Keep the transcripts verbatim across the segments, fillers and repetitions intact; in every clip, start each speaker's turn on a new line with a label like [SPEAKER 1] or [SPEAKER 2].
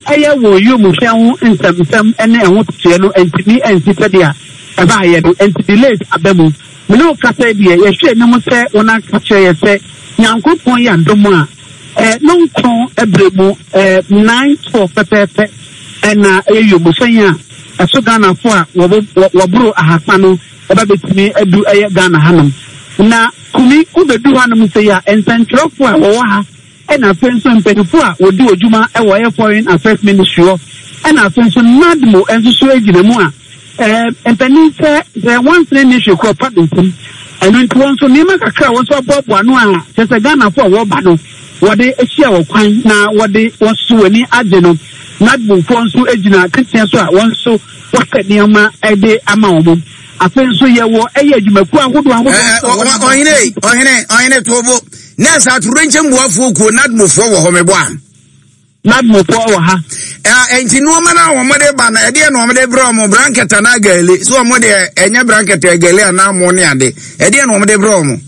[SPEAKER 1] Ɛyɛ wɔ wiemhyɛn ho nsɛmnsɛm ne ɛho totoeɛ no ntumi ansi sɛdeɛ ɛbaeɛ no, enti delays aba mu. Me ne wo kasa yi deɛ, yɛhwɛ anim sɛ wɔn aka kyerɛ yɛ sɛ Nyankopɔn yɛ adom a, eh, no nkron berɛ mu, eh, nine twelve pɛpɛɛpɛ ɛna ɛyɛ wiemhyɛn a ɛso Ghanafoɔ a wɔboro ahasa no ɛba bɛtumi adu ɛyɛ Ghana hanom. Na Kumi, wobɛdu hanom sɛ yi a, nsɛntwerɛfoɔ a wɔwɔ ha, ɛna afei nso mpanyinfoɔ a wɔdi wɔ dwuma ɛwɔ ɛyɛ Foreign Affairs Ministry hɔ, ɛna afei nso NADMO nso so gyina mu a ɛɛ mpanyin sɛ sɛ wansene ne hwɛ kura pa ne nsam. Ɛno nti wɔn nso nneɛma kakra a wɔn nso aboaboa ano a kyerɛ sɛ Ghanafoɔ a wɔreba no wɔde ahyia wɔ kwan na wɔde wɔn nso wɔn ani agye no. NADMOfoɔ nso gyina teteɛ so a wɔn nso wɔsɛ nneɛma de ama wɔn. Afei nso yɛwɔ ɛyɛ adwumakuo ahodoɔ ahodoɔ.
[SPEAKER 2] Ɔhene, ɔhene, ɔhene tobo. Nurse atorenkyɛm buafoɔ kuo NADMOfoɔ wɔ hɔ meboa.
[SPEAKER 1] NADMOfoɔ wɔ ha.
[SPEAKER 2] Nti nneɛma no a wɔde ba no, ɛdeɛ na wɔde brɛ wɔn, blanket anaa gale? So wɔn deɛ ɛnyɛ blanket, gale anaa mo ne ade? Ɛdeɛ na wɔde brɛ wɔn?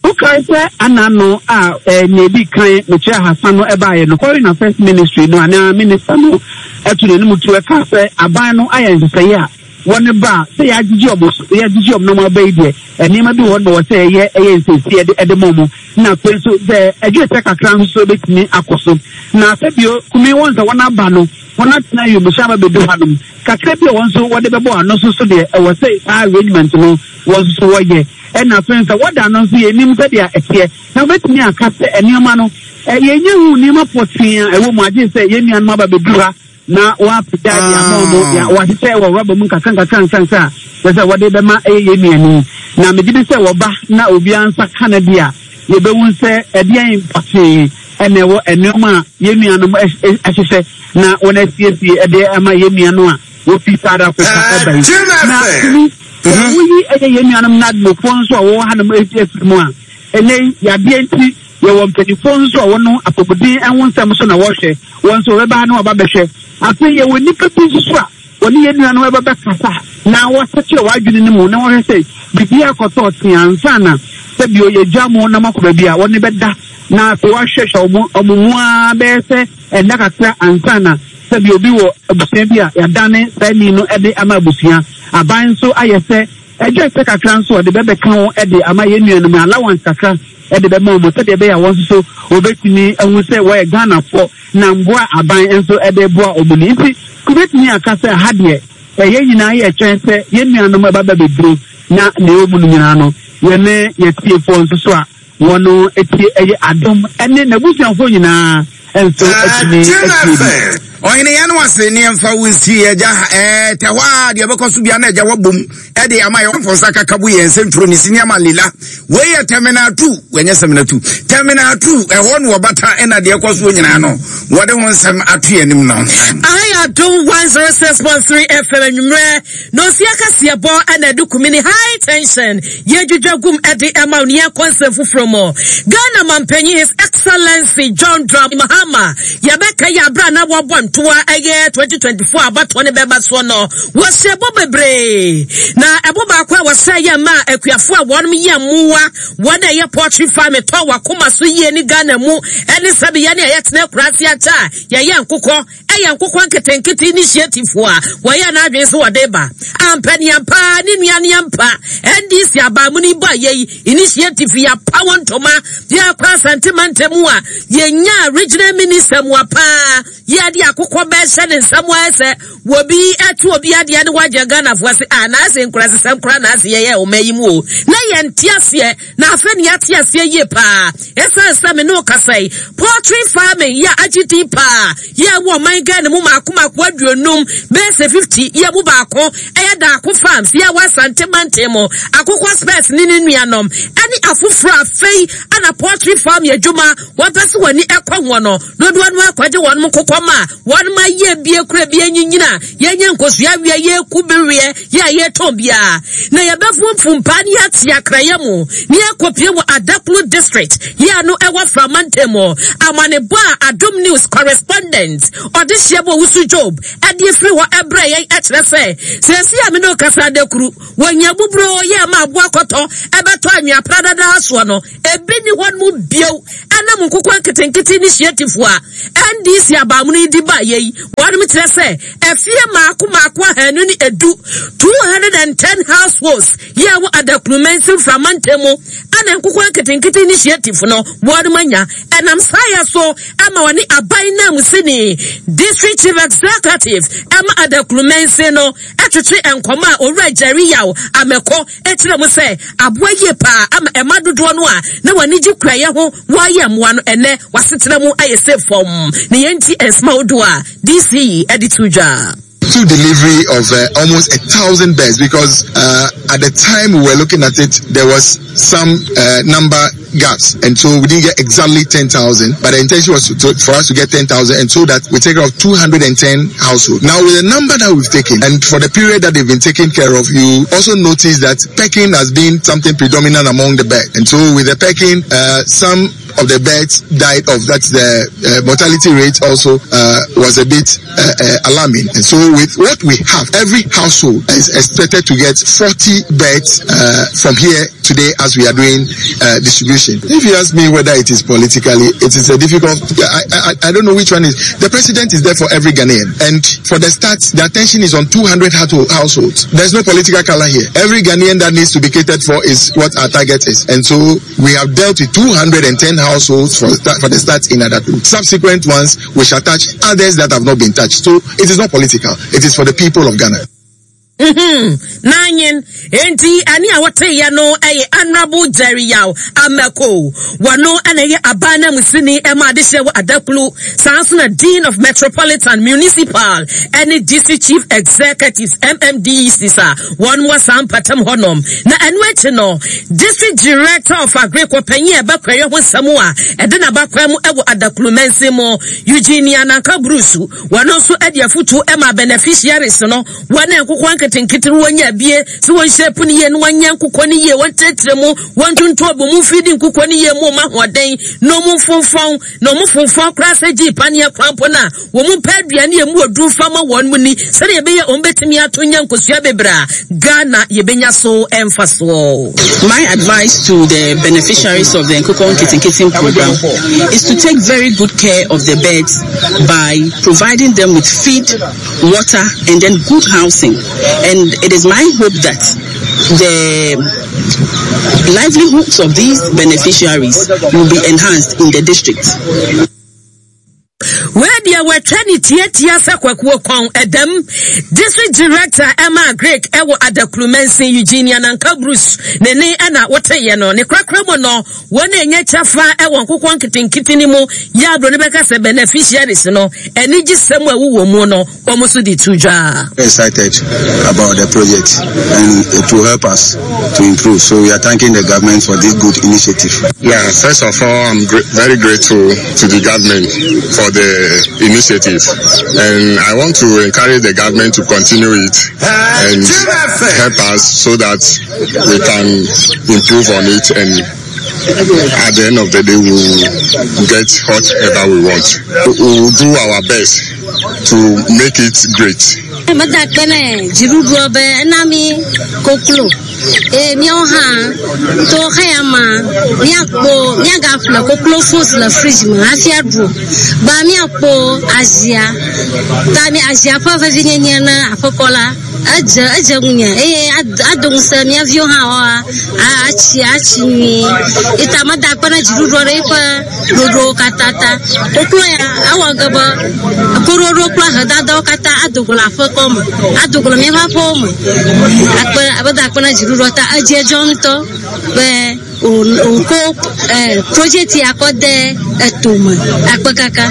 [SPEAKER 1] Wokae sɛ ana no a nea edi kan mekyerɛ ahasa no ɛbaeɛ no, Foreign Affairs Ministry no anaa minister no ɛto n'anim tu ɛka sɛ aban no ayɛ nhyehyɛeɛ a wɔne ba a sɛ yɛagyegye ɔmo so, yɛagyegye ɔmo na ɔmo aba yi deɛ, nneɛma bi wɔ hɔ na wɔ sɛ ɛyɛ ɛyɛ nsiesie ɛde ɛde ma ɔmo, na afei nso sɛ ɛdwe sɛ kakra nso so ebɛtumi akɔ so. Na afei bio, Kumi, wɔn sɛ wɔn aba no, wɔn atena wiemhyɛn aba bɛdu hanom kakra bi a wɔn nso wɔde bɛbɔ ano nso so deɛ, ɛwɔ sɛ saa arrangement no wɔn nso so wɔyɛ. Ɛna afei nso wɔda no nso yɛnim sɛdeɛ ɛteɛ na wɔbɛtumi aka sɛ nneɛma no yɛnyɛ hu nneɛma pɔtee a ɛwɔ mu, agye sɛ yɛn nuanom aba bɛduru ha na wɔapagya de ama wɔn, wɔahyehyɛ wɔ rɔba mu nkakra nkakra nkakra a kyerɛ sɛ wɔde bɛma ɛyɛ yɛn nuani. Na megye di sɛ wɔba na obiara nsa ka no deɛ a, yɛbɛhu sɛ ɛdeɛn pɔtee ɛna ɛwɔ nneɛma a yɛn nuanom ahyehyɛ na wɔn asiesie de ama yɛn nuanom a wɔfi South Africa ɛba yi. Na tumi sɛ woyi ɛyɛ yɛn nuanom NADMOfoɔ nso a wɔwɔ hanom afiri mu a, ɛnɛ yi yadeɛ nti yɛwɔ mpanimfoɔ nso a wɔn apɔmuden ho nsɛm so na wɔhwɛ wɔn nso wɔbɛba ha na wɔaba bɛhwɛ. Afei yɛwɔ nnipa bi nso so a wɔne yɛn nuanom ɛba bɛkasa na wɔsɛkyerɛ wɔn adwene no mu na wɔhwɛ sɛ biribi akɔtɔ ɔte ansa na sɛ bio yɛgya mo na moakɔ baabi a wɔne bɛda, na afei wɔahwehwɛ wɔn wɔn mu ara bɛyɛ sɛ ɛnna kakra ansa na sɛ bi obi wɔ abusua bi a yɛadane saa ni no de ama abusua. Aban nso ayɛ sɛ ɛdwa sɛ kakra nso ɔde bɛbɛka ho de ama yɛn nuanom, allowance kakra de bɛma wɔn sɛdeɛ ɛbɛyɛ a wɔn nso so wɔbɛtumi ahu sɛ wɔyɛ Ghanafoɔ na mboa aban nso de boa wɔn ni. Nti kubɛtumi aka sɛ ha deɛ ɛyɛ nyinaa yɛ twɛn sɛ yɛn nuanom ɛba bɛ bɛduro na nea ɛwɔ mu no nyinaa no yɛne yɛtiefoɔ nso so a wɔn etie ɛyɛ Adom ɛne n'abusuafoɔ nyinaa nso atumi atie bi.
[SPEAKER 2] Ɔhene, yɛn no ase ne yɛmfa wo nsi agya ɛɛ tɛ hɔ a deɛ ɛbɛkɔ so bia na agya wabom ɛde ama yɛ wɔmfɔ nsa kaka bu yɛn nsɛntwerɛ ne sini ama lila. Wei yɛ terminal two, wɔnyɛ terminal two, terminal two ɛhɔ no wɔbata ɛna deɛ ɛkɔ soɔ nyinaa no wɔde ho nsɛm ato yɛn anim no.
[SPEAKER 3] Aha yɛ Adom one oh six point three F M, anwummerɛ na osi akaseɛ bɔ ɛna ɛde Kumini High Tension yɛdwidwa gum ɛde ɛma wo ne yɛnkɔ nsɛm foforɔ mu. Ghana mampanyin, His Excellency John Dramani Mahama, yɛbɛka yɛ abere a na wɔbɔ ntoa ɛyɛ twenty twenty-four abatoɔ ne bɛba soɔ no, wɔhyɛ bɔ bebree, na ɛbɔ baako a wɔhyɛ yɛ ma akuafoɔ a wɔn yɛ mmoa, wɔn a ɛyɛ poultry farm tɔ wakoma so yie ne Ghana mu ɛne sɛbi yɛne a yɛtena akuraase akyɛ a yɛyɛ nkokɔ, ɛyɛ nkokɔ nketenkete initiative a wɔyɛ n'adwene sɛ wɔde ba ampaniampa ne nuaneampa N D C abaamu ni ba yɛ yi initiative yɛapa wɔn ntoma. Yɛakɔ Asante mantam a yɛnya regional minister mu apaa yɛde akokɔ bɛhyɛ ne nsam ayɛ sɛ wɔbi ɛto obi adeɛ ne wagye Ghanafoɔ ase a naase nkurasesɛm kora naase yɛyɛ ɔma yi mu o na yɛnte aseɛ, na afei ne yɛate aseɛ yie paa. Ɛsiane sɛ me ne wo kasa yi, poultry farming yɛ agye din paa yɛ wɔ ɔman Ghana mu maako maako aduonum, bɛyɛ sɛ fifty, yɛ mu baako ɛyɛ Daako Farms yɛ wɔ Asante mantam mu, Akokɔ Spurs ne ne nuanom ɛne afoforɔ. Afei ana poultry farm yɛ adwuma wɔpɛ sɛ wɔn ani ɛkɔ wɔn no dodoɔ no akɔgye wɔn nkokɔ ma wɔn ma yɛ bie kura bie nyinyina. a yɛnyɛ nkosua awie yɛku bereɛ yɛ a yɛtɔn biara na yɛbɛfomfom paa ne yɛate akrayɛ mu ne yɛkɔpie wɔ Adaklu District yɛ ano ɛwɔ Framantam mu. Amanebɔ a Adom News correspondent ɔde hyia bɔ Owusu Job ɛde afiri hɔ ɛbrɛ yɛn ɛkyerɛ sɛ sɛsi a me ne okasa adakuru wɔnya buburo yɛ ma aboa kɔtɔ ɛbɛtɔ anwea pradadaa soɔ no ebi ni hɔ no mu bio. Ɛnam nkokɔ nketenkete ne hyiatifo a N D C abaamuno yi di ba yɛ yi, wɔnom kyerɛ sɛ afie maako maako ahanu ne edu, two hundred and ten households yɛ wɔ Adaklu mansin Framantam mu ɛna nkokɔ nketenkete ne hyiatifo no wɔnom anya. Ɛnam saa yɛ so ama wɔne aban nam sini District Chief Executive ɛma Adaklu mansin no ɛtwetwe nkɔmɔ a Owura Jerry Yaw Amɛkɔ ɛkyerɛ mu sɛ aboa yie paa ama ɛma dodoɔ no a na wɔn gye kuayɛ ho wɔayɛ mmoa no ɛnɛ wasetena mu ayɛ sɛ fam ne yɛn ti nsɛm ahodoɔ a D C ɛde to dwa.
[SPEAKER 4] To delivery of uh, almost a thousand birds because uh, at the time we were looking at it, there was some uh, number gaps, and so we didn't get exactly ten thousand. But the intention was to, to, for us to get ten thousand, and so that we take care of two hundred ten households. Now, with the number that we've taken, and for the period that they've been taken care of, you also notice that pecking has been something predominant among the birds, and so with the pecking, uh, some of the birds died off. That's the uh, mortality rate also uh, was a bit uh, uh, alarming. And so with what we have, every household is expected to get forty birds uh, from here today as we are doing uh, distribution. If you ask me whether it is politically, it is a difficult, I, I, I don't know which one is. The president is there for every Ghanaian. And for the start, the attention is on two hundred households. There's no political color here. Every Ghanaian that needs to be catered for is what our target is. And so we have dealt with two hundred ten households for, for the start in Adaklu. Subsequent ones, we shall touch others that have not been touched. So it is not political. It is for the people of Ghana.
[SPEAKER 3] Mm-hmm. Nanyin enti ani a wɔteyɛ no ɛyɛ Honorable Jerry Yaw Amako. Wɔno ɛna ɛyɛ aban na musini ɛma adehyɛ wɔ Adaklu, saa nso na Dean of Metropolitan, Municipal ɛne District Chief Executives, M M D C S, a wɔn wɔ saa mpatam hɔnom. Na ɛno akyi no, District Director of Agric, panyin a ɛbɛkɔyɛ ho nsɛm a ɛde n'abakwan mu ɛwɔ Adaklu mansin mu, Eugenia Nanka Bruce, wɔn nso ɛde afutuo ɛma beneficiaries no, wɔn a nkokɔ nketenkete no wɔnya abie sɛ wɔnhyɛ po no yie na wɔnyɛ nkokɔ no yie, wɔnkyerɛkyerɛ mu, wɔntonto abɔ mu mfiri di nkokɔ no yie mu ɔmo ahoɔden na ɔmo mfomfɔn na ɔmo fomfɔn koraa sɛ gye paneɛ koraa mpo no a wɔn mpɛ aduane a emu oduru fama wɔn mu ni sɛdeɛ ɛbɛyɛ wɔn bɛtumi ato nya nkosua bebree a Ghana yɛbɛnya so ɛmfa soɔ.
[SPEAKER 5] My advice to the beneficiaries of the Nkoko Nketenkete program is to take very good care of the birds by providing them with feed, water, and then good housing. And it is my hope that the livelihoods of these beneficiaries will be enhanced in the district.
[SPEAKER 3] Wei deɛ wɔatwa ne tiatia sɛ kwakuo kɔn ɛdɛm. District Director ɛma Agric ɛwɔ Adaklu mansin, Eugenia Nanka Bruce, ne ne ɛna woteyɛ no ne korakora mu no, wɔn a ɛnyɛ kyɛfa ɛwɔ nkokɔ nketenkete no mu yɛ aburo no bɛka sɛ beneficiaries no anigye sɛm a ɛwowɔ mu no wɔn nso de to dwa.
[SPEAKER 6] Excited about the project and it will help us to improve. So we are thanking the government for this good initiative.
[SPEAKER 7] Yeah, first of all, I'm gr- very grateful to the government for the initiative. And I want to encourage the government to continue it and help us so that we can improve on it, and at the end of the day we will get whatever we want. We will do our best to make it great.
[SPEAKER 8] Meda akpe ne dziɖuɖua be ena mi koklo eye míawo hã to xeya ma míakpɔ míagaƒle koklo fos le fridge me hafi aɖu gba míakpɔ azia ta mi azia ƒe vevinyenye ne aƒekɔ la edze edze ŋunye eye ado ŋusẽ mía viwo hã woa atsi atsi nyuie ita meda akpe ne dziɖuɖua ɖe eƒe ɖoɖowo katã ta koklo ya ewɔ ge be koɖoɖo kple ahedadawo katã ado go le aƒekɔ me ado go le míaƒe aƒewo me akpe meda akpe ne dziɖuɖua ta edze dzɔ ŋutɔ be wòkɔ project ya kɔ de etome akpe kaka.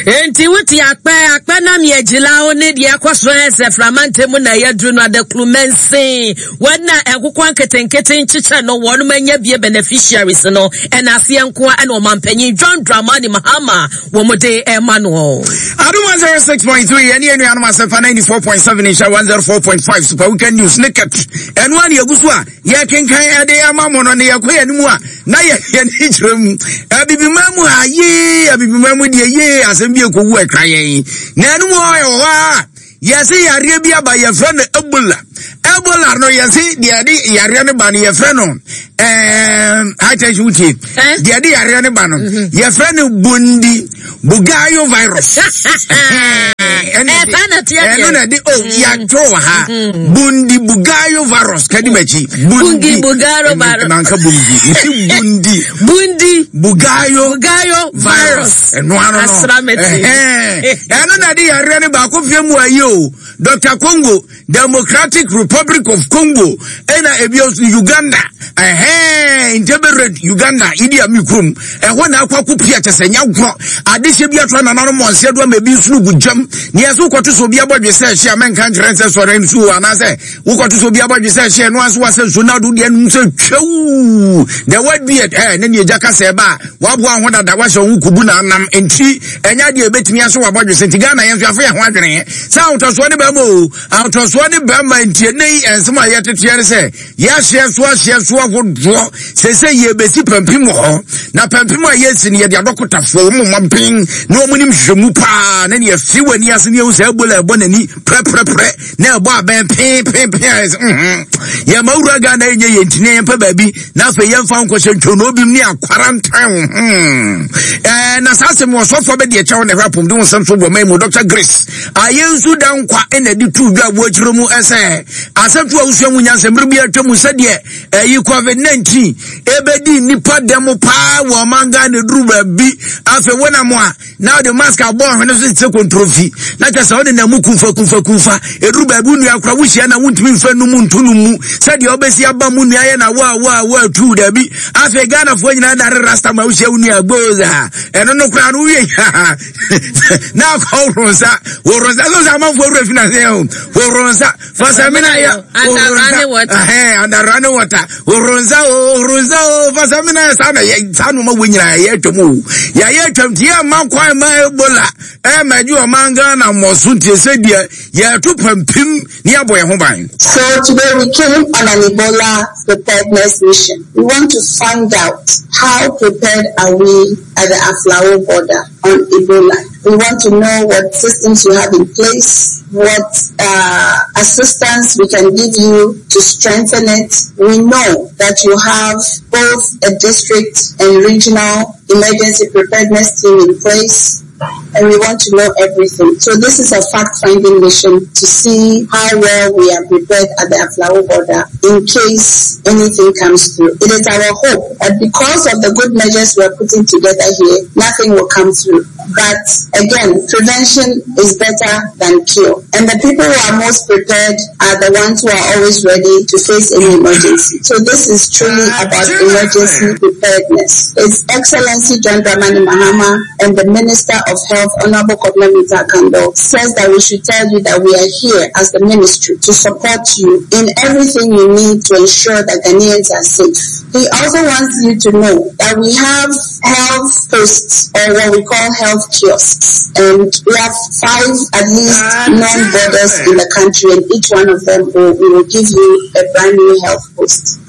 [SPEAKER 3] Enti wote akpɛ akpɛ nam yɛ gyila wo ne deɛ ɛkɔ so ɛsɛ framante mu na yɛduru no adakuru mɛnsen wɔn na nkokɔ nketenkete nkyekyɛ no wɔn anya bie beneficiaries no ɛna aseɛ nko a ɛna ɔmanpanyin John Dramani Mahama wɔn de ɛma no.
[SPEAKER 2] Adum one zero six point three ɛne ɛnuanom asɛmpa ninety four point seven nhyɛ one zero four point five Super Weekend News ne kɛt ɛno a ne yɛgu so a yɛkenkan ɛde ama mo no ne yɛkɔ yɛn mu a na yɛ yɛn kyerɛ mu abibima mu a yee abibima mu deɛ yee asɛm bi ekowu ɛka yɛn na ɛno mu ɔyɛ wɔ hɔ a yɛse yareɛ bi aba yɛfrɛ no Ebola. Ebola no yɛse deɛ de yareɛ no ba no yɛfrɛ no ɛɛm high tension wutie deɛ de yareɛ no ba no yɛfrɛ no Bundi Bugayo virus. Ɛno na de o yɛatwerɛ wɔ ha Bundi Bugayo virus kadi m'akyi
[SPEAKER 3] Bundi Bugayo virus
[SPEAKER 2] nanka Bundi nti Bundi
[SPEAKER 3] Bundi
[SPEAKER 2] Bugayo
[SPEAKER 3] Bugayo virus
[SPEAKER 2] ɛno ano no ɛno na de yareɛ no baako fie mu ayi o Doctor Congo, Democratic Republic of Congo, ɛna ebi nso Uganda, ɛhɛn Ntebere Uganda, idi ami kurom, ɛhɔ na akɔ akɔ pia kyɛ sɛ nya gorɔ, adehyɛ bi ato anananom mɔnseɛ do ama ebi nso gu gyam, nea ɛso kɔto so obi abɔdwe sɛ ɛhyɛ a mɛnka nkyerɛ nsɛ sɔre nsuo anaasɛ wokɔto so obi abɔdwe sɛ ɛhyɛ no aso wasɛ nsuo na ado deɛ nom sɛ twɛw, the word beard, ɛɛ ne nea egya kasa ɛba a waboa ho dada wahyɛ ho kubu na anam nti ɛnya deɛ ebetumi aso wabɔdwe sɛ nti Ghana yɛn nso afo yɛn ho adwene sɛ ahotɔsoɔ ne bɛrima o ahotɔsoɔ ne bɛrima nti ɛnɛ yi nsɛm a yɛteteɛ ne sɛ yɛahyeɛ so ahyeɛ so ahodoɔ sɛ sɛ yɛbɛsi pampim wɔ hɔ na pampim a yɛsi no yɛde adɔkotafoɔ wɔn mma ben na wɔn nim hwehwɛmu paa na ne yɛfi wɔ ani ase ne yɛhu sɛ Ebola ɛbɔ n'ani prɛprɛprɛ na ɛbɔ abɛn peenpeenpeen a yɛsɛ mhm yɛma wura Ghana ɛnyɛ yɛn ntini yɛmpɛ baabi na afei yɛmfa nkɔhyɛ ntwonoo bi mu ne akwarantan hmm ɛɛ na saa asɛm wɔsɔfoɔ bɛde ɛkyɛw na ɛhwɛ apɔmuden ho nsɛm so wɔ man mu Doctor Grace ayɛnsu da nkwa ɛna de tu dwa wɔ akyerɛ mu ɛsɛ asɛm to a wosua mu nyansa mmere bi atwa mu sɛdeɛ ɛyi covid nineteen ebedi nipa dɛm paa wɔ ɔman Ghana duru baabi afei wɔnam a na ɔde mask abɔ ɔhwene so sɛ kontrofi na kyɛ sɛ ɔde na mu kumfa kumfa kumfa eduru baabi nua kora wohyia na wontumi mfa no mu nto no mu sɛdeɛ ɔbɛsi aba mu nua yɛ na wa wa wa tu daabi afei Ghanafoɔ nyinaa dare rasta ma wohyia wo nua gboza ɛno no koraa no wowie na akɔ woro nsa woro nsa so sɛ amanfoɔ wura fi na sɛ o woro nsa fasamina yɛ woro nsa ɛhɛn under running water woro nsa o woro nsa o fasamina yɛ saa na yɛ saa noma wo nyinaa yɛ atwam o yɛayɛ atwam tie ma kwan ma Ebola ɛma gye ɔman Ghana mmɔso ntie sɛ deɛ yɛto pampim ne yɛabɔ yɛn ho ban.
[SPEAKER 9] So today we came on an Ebola preparedness mission. We want to find out how prepared are we at the Aflao border on Ebola. We want to know what systems you have in place, what uh, assistance we can give you to strengthen it. We know that you have both a district and regional emergency preparedness team in place, and we want to know everything. So this is a fact-finding mission to see how well we are prepared at the Aflao border in case anything comes through. It is our hope that because of the good measures we are putting together here, nothing will come through. But again, prevention is better than cure. And the people who are most prepared are the ones who are always ready to face any emergency. So this is truly about emergency preparedness. His Excellency John Dramani Mahama and the Minister of Health, Honorable Kobina Mintah-Akandoh, says that we should tell you that we are here as the ministry to support you in everything you need to ensure that Ghanaians are safe. He also wants you to know that we have health posts, or what we call health kiosks, and we have five at least non-borders in the country, and each one of them will, we will give you a brand new health post.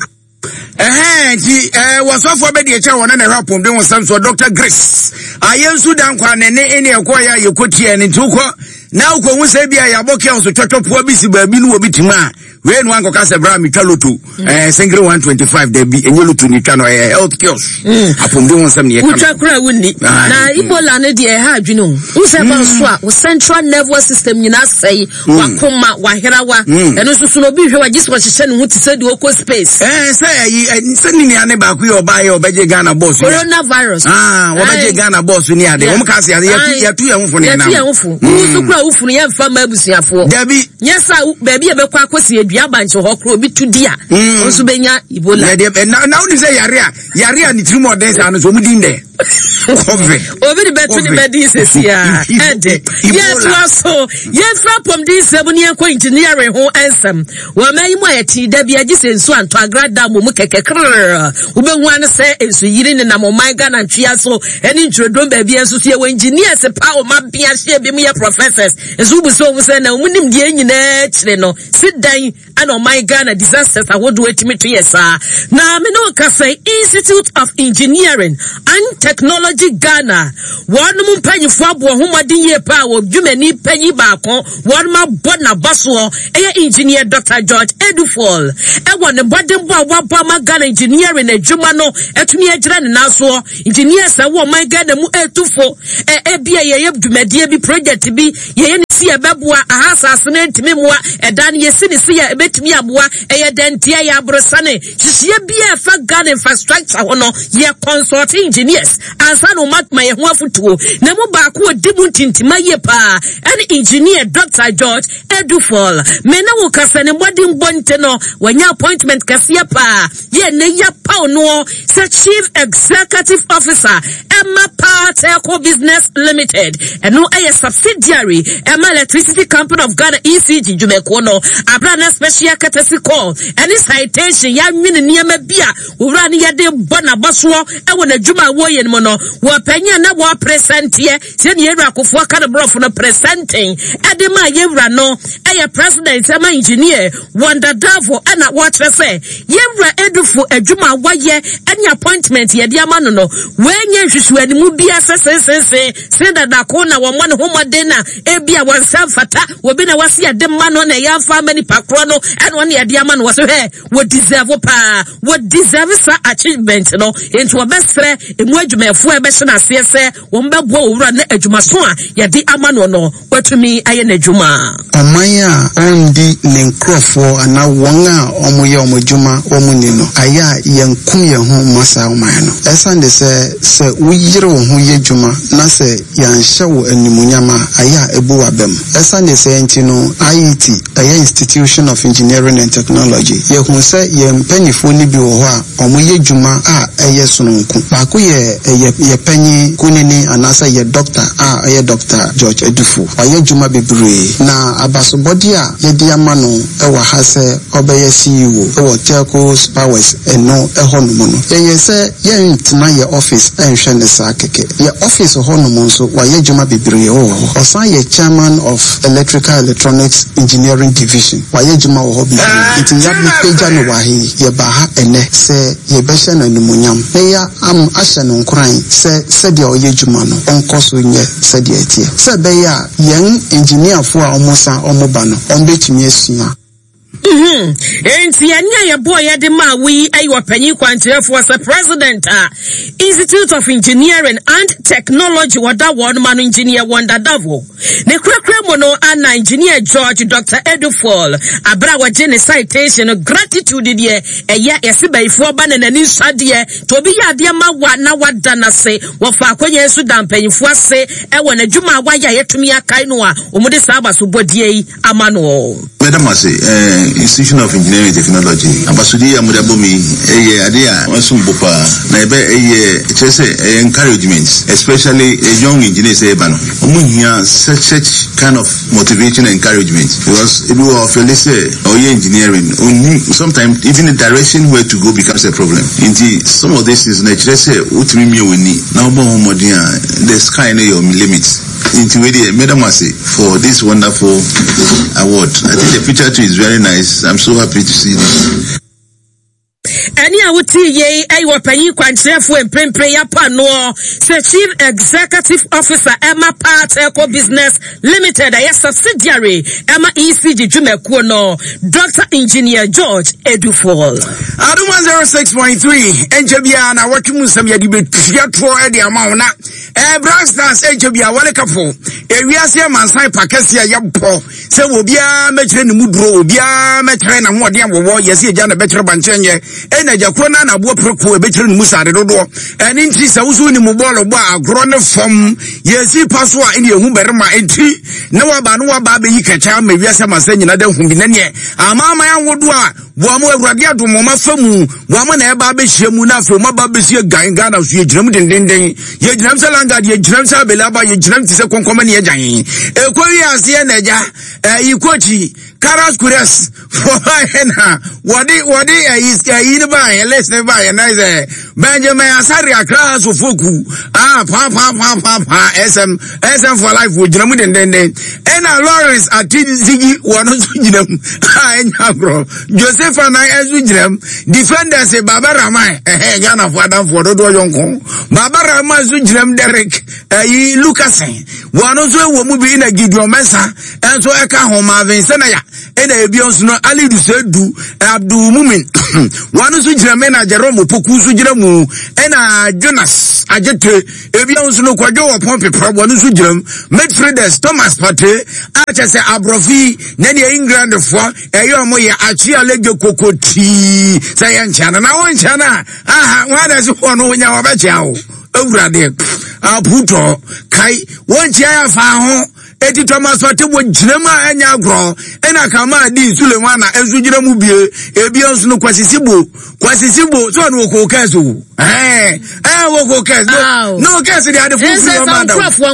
[SPEAKER 2] Eh, ti eh wasɔfo be de kyɛ wɔn na hwɛ apɔmden ho nsɛm so Doctor Grace ayɛnsu dan kwa ne ne ne ɛkɔ ya yɛkɔtie ne nti wokɔ na wokɔhu sɛ bi a yɛabɔ kɛ so twɔtwɔpoa bi si baabi no wɔ bi tim a wei no ankɔka sɛ bra metwa loto eh singre one twenty-five da bi ɛnyɛ loto ne twa no ɛyɛ health kiosk apɔmden ho nsɛm ne yɛka
[SPEAKER 3] wotwa kora wonni na Ebola no deɛ ɛha adwene o wo sɛ ba so a wo central nervous system nyinaa sɛe wakoma waherawa ɛno nso so no obi hwɛ wagye sɛ wɔhyehyɛ ne ho te sɛ deɛ ɔkɔ space
[SPEAKER 2] eh sɛ ɛyi sɛ ne nua ne baako yɛ ɔbaa yɛ ɔbɛgye Ghana boss
[SPEAKER 3] coronavirus
[SPEAKER 2] ah wɔbɛgye Ghana boss ni ade wɔn ka se ade yɛtu yɛtu yɛn ho fo ne nam
[SPEAKER 3] yɛtu yɛn ho fo wo so kora wo funu yɛmfa ma abusuafoɔ
[SPEAKER 2] dabi
[SPEAKER 3] nyɛ sɛ baabi a bɛkɔ akɔsi adua abankye hɔ koro obi tu di a nso bɛnya Ebola
[SPEAKER 2] na na wo ni sɛ yare a yare a ne tirim ɔden saa no so ɔmo din dɛ Covid.
[SPEAKER 3] Obi de bɛto ne bɛdi sisi a ɛde yɛtoa so yɛmfira pɔmden nsɛm ne yɛnkɔ engineering ho nsɛm. Wɔn yi mu a yɛte da bi agye sɛ nsuo antɔ agrada mu mu kɛkɛ krrr wobɛhu ano sɛ nsu yiri nenam ɔman Ghana ntwea so ɛne ntwirodom baabi nso so yɛwɔ engineers pa wɔn abea hyɛ bi mu yɛ professors nso wobu sɛ wɔn sɛ na wɔn nim deɛ nyinaa kyerɛ no si dan ɛna ɔman Ghana disasters ahodoɔ atumi to yɛ saa. Na me ne wo kasa Institute of Engineering and Technology Ghana wɔnom mpanyinfoɔ aboɔ ho mmɔden yie paa wɔ dwumani panyin baako wɔnom abɔ n'aba soɔ ɛyɛ engineer Doctor George Eduful ɛwɔ ne mmɔdenbɔ a wabɔ ama Ghana engineering adwuma no atumi agyina ne nan soɔ. Engineers a wɔ ɔman Ghana mu etufo ɛ ebi a yɛyɛ dwumadie bi project bi yɛyɛ ne si ɛbɛboa aha asase no ntumi mmoa ɛdan no yɛsi ne si a ɛbɛtumi aboa ɛyɛ dɛnteɛ yɛ aborɔsane hyehyɛ bi a ɛfa Ghana infrastructure ho no yɛ consult engineers ansa na ɔma ma yɛn ho afotuo na mu baako odi mu ntintima yie paa ɛne engineer Doctor George Eduful. Me ne wo kasa ne mmɔden bɔ nte no wɔnya appointment kɛseɛ paa yɛ ne yɛ paw no sɛ chief executive officer ɛma Power Telco Business Limited ɛno ɛyɛ subsidiary ɛma Electricity Company of Ghana E C G dwumakuo no abra na special courtesy call ɛne citation yɛanwene nneɛma bi a owura ne yɛde bɔ n'abasoɔ ɛwɔ n'adwuma a wɔyɛ no mu no wɔpanyin na wɔpresɛnteɛ sɛ ne yɛwura akofoɔ ka ne borɔfo no presenting ɛde ma yɛwura no ɛyɛ president ɛma engineer Wanda Davo ɛna wɔkyerɛ sɛ yɛwura Edufo adwuma a wɔyɛ ɛne appointment yɛde ama no no wɔnyɛ nhwehwɛnimu bi asɛ sensensen sen dadako na wɔmmɔ ne ho mmɔden na ebi a wɔn nsa mfata obi na wɔasi yɛde ma no na ɛyɛ amfa ama nipa korɔ no ɛna wɔn yɛde ama no wɔ so hɛ wɔ deserve paa wɔ deserve sa achievement no nti wɔbɛsrɛ emu adwumayɛfoɔ a ɛbɛhyɛ n'aseɛ sɛ wɔn bɛboa owura ne adwumaso a yɛde ama no no wɔatumi ayɛ n'adwuma.
[SPEAKER 6] Ɔman a ɔndi ne nkurɔfoɔ anaa wɔn a wɔyɛ wɔn adwuma wɔn ni no ayɛ a yɛnkum yɛn ho mma saa ɔman no. Ɛsiane de sɛ sɛ woyere wo ho yɛ adwuma na sɛ yɛanhyɛ wo animuonyam a ayɛ a ebu w'abam. Ɛsiane de sɛ nti no I E T ɛyɛ Institution of Engineering and Technology yɛhu sɛ yɛn mpanyinfoɔ no bi wɔ hɔ a wɔyɛ adwuma a ɛyɛ sononko. Baako yɛ ɛyɛ yɛ panyin kunini anaasɛ yɛ doctor a ɛyɛ Doctor George Eduful. Ɔyɛ adwuma bebree na abasobɔde a yɛde ama no ɛwɔ ha sɛ ɔbɛyɛ C E O ɛwɔ Telco's Powers ɛno ɛhɔ nom no. Yɛyɛ sɛ yɛntena yɛ office ɛnhwɛ ne saa kɛkɛ. Yɛ office hɔ nom nso wayɛ adwuma bebree wɔ hɔ. Ɔsan yɛ chairman of Electrical Electronics Engineering Division. Wayɛ adwuma wɔ hɔ bebree. Nti yɛapagya no wɔ ha yi, yɛba ha ɛnɛ sɛ yɛbɛhyɛ no animuonyam na yɛ am ahyɛ no nkoran sɛ sɛdeɛ ɔyɛ adwuma no ɔnkɔ so nyɛ sɛdeɛ ɛteɛ. Sɛ ɛbɛyɛ a yɛn engineerfoɔ a wɔn san wɔn ba no wɔn bɛtumi asua.
[SPEAKER 3] Mhm. Enti ɛne a yɛbɔɔ yɛde ma wo yi ɛyɛ ɔpanyin kwankyerɛfoɔ sɛ president a Institute of Engineering and Technology wɔda wɔn ma no engineer Wanda Davo. Ne kurakura mu no ana engineer George Doctor Eduful abra wɔgye ne citation no gratitude deɛ ɛyɛ yɛse bayifoɔ ba na n'ani nsa deɛ to obi yɛ adeɛ ma wa na wada n'ase wɔfa akɔnya nso da mpanyinfoɔ ase ɛwɔ n'adwuma a wayɛ a yɛtumi akae no a wɔn de saa abasobɔdeɛ yi ama no.
[SPEAKER 10] Madam ase eh, Institution of Engineering and Technology abasodi a mode abɔ mi ɛyɛ ade a wɔsom bo paa na ɛbɛ ɛyɛ kyerɛ sɛ ɛyɛ encouragement especially a young engineer sɛ ɛba no ɔmo hia such such kind of motivation and encouragement because ebi wɔ ɔfɛle sɛ ɔyɛ engineering onni sometimes even the direction where to go becomes a problem nti some of these things na kyerɛ sɛ wotumi mie w'ani na wobɔ ho mmɔden a the sky no your limit. Nti wei deɛ madam ase for this wonderful award. I think the picture too is very nice. I'm so happy to see this.
[SPEAKER 3] Ɛne a wotie yei ɛyɛ ɔpanyin kwankyerɛfoɔ mprempren yɛapa noɔ sɛ Chief Executive Officer ɛma Power Telco Business Limited ɛyɛ subsidiary ɛma E C G dwumakuo no Doctor Engineer George Eduful.
[SPEAKER 2] Adum one zero six point three ɛnkyɛ biara na wɔtwe mu nsɛm yɛde bɛtua toɔ ɛde ama wo na eh, Black Stars ɛnkyɛ biara wɔle kapo ewiase amansan pa kɛseɛ a yɛbɔ sɛ obiara mɛkyerɛ ne mu duro obiara mɛkyerɛ n'ahoɔden a wɔwɔ yɛsi agya na bɛkyerɛ bankyɛn yɛ ɛna Ɛna agya korɔ no anaboɔ preko ɛbɛkyerɛ no mu sade dodoɔ. Ɛne nti sɛ woso wonim bɔɔlo bɔ a, agorɔ ne fam yɛsi pa so a ɛne ɛhu barima. Nti na waba no waba abɛyi kɛkyɛ ama wiase ama sɛ nyina da hu bi na neɛ amaaman ahodoɔ a wɔn mo Awurade adom wɔn afa mu, wɔn mo na ɛba abɛhyia mu, na afei wɔn aba abɛsi gan Ghana so. Yɛgyina mu dendenden, yɛgyina mu sɛ langard, yɛgyina mu sɛ abelaba, yɛgyina mu te sɛ kɔnkɔmɔ ne yɛgyan ɛkɔ wi aseɛ. Na agya ɛyi kɔkyi Karas Kures wɔbaayɛ na wɔde wɔde ɛyi ɛyi ne baayɛ list ne baayɛ na sɛ Benjamin Asare Akra Sofoku ah paa paa paa paa paa S M S M for life, wɔgyina mu dendenden. Ɛna Lawrence Atizigi, wɔn nso gyina mu a ɛnya agorɔ. Joseph Anan nso gyina mu. Defenders, Baba Rahman, ɛhɛn Ghanafoɔ adamfoɔ dodoɔ yɔnko Baba Rahman nso gyina mu. Derek ɛyi Lucasen, wɔn nso wɔ mu bi. Na Gideon Mensah nso ɛka ho. Marvin Senaya, ɛna ebi nso no Alidu Seidu, Abdul Mumin, wɔn nso gyina mu. Ɛna Jerome Opoku nso gyina mu. Ɛna Jonas Agyete, ebi nso no Kwadwo wɔ pɔn pepra, wɔn nso gyina mu. Midfielders, Thomas Partey a kyɛ sɛ aborɔfo yi na deɛ England foɔ ɛyɛ ɔmo yɛ akyi alege koko tii sɛ yɛ nkyɛn no na wɔn nkyɛn no a aha wɔn adɛ so wɔn no wonya wɔbɛkyia wo Ewurade aputɔ kai wɔn nkyɛn yɛ fa ho. Eti Thomas Partey wɔ gyina mu a ɛnyɛ agorɔ. Ɛna kama di Sulemana nso gyina mu bie. Ebi nso no Kwasi Sibo, Kwasi Sibo so ɔno wɔ kɔɔ kɛse o, ɛɛ ɛɛ wɔ kɔɔ kɛse no no kɛse de ade fufu ɔmo ada.
[SPEAKER 3] Nkurɔfoɔ